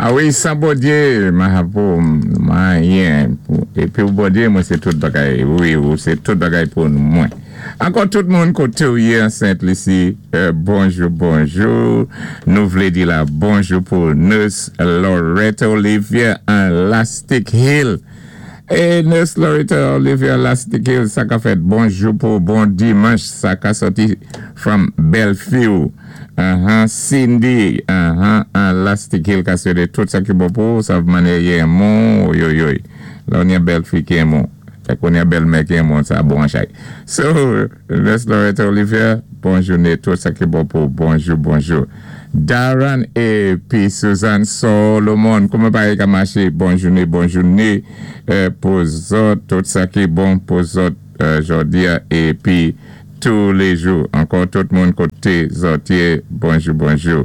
A wi, san Bondyé, mahapo, anyen. Épi ou Bondyé, mwen sé tout bagay. Wi, ou sé tout bagay pou mwen. Ankò tout moun koté ou yé an Sent Lisi, bonjou, bonjou. Nou vlé di la bonjou pou Nurse Loretta Olivier an Lastic Hill. É Nurse Loretta Olivier Lastic Hill, sa ka fèt bonjou pou bon dimanch, sa ka sòti from Bellevue. Cindy, an Lastic Hill ka swété tout sa ki bon pou, sa mannyè yé moun, oyoyoy. La on yon bèl fi ki moun. Kon yon bèl mè ki moun, sa bon chay. So, Nurse Loretta Olivier, bon jouné, tout sa ki bon pou, bonjou, bonjou. Darren épi Suzanne Solomon, kouman bagay ka maché? Bon jouné, bon jouné pou zòt, tout sa ki bon pou zòt jòdi a épi tous les jours. Ankò tout moun koté zòt yé, bonjou, bonjou.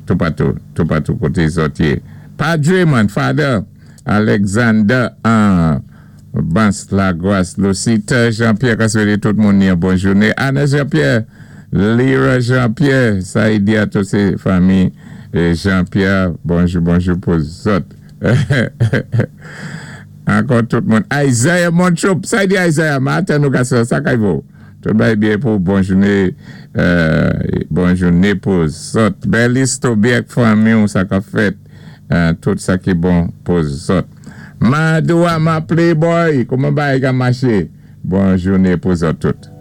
Toupatou, toupatou koté zòt yé. Padre man, Father Alexander an Bans Lagwas, Lucita Jean-Pierre, ka swété tout moun yon bon jouné. Anna Jean-Pierre, Lyra Jean-Pierre, Saïdia, tout sé fanmi Jean-Pierre, bonjou, bonjou pou zòt. Ankò tout moun. Isaiah Montrop, Saïdia Isaiah, maten nou ka sa kay vo. Tout bagay byen pou bon jouné, bon jouné pou zòt. Berlis Tobiek, fanmi ou sa ka fèt, tout sa ki bon pou zòt. Madoua ma playboy, kouman bagay ka maché? Bon jouné pou zòt tout.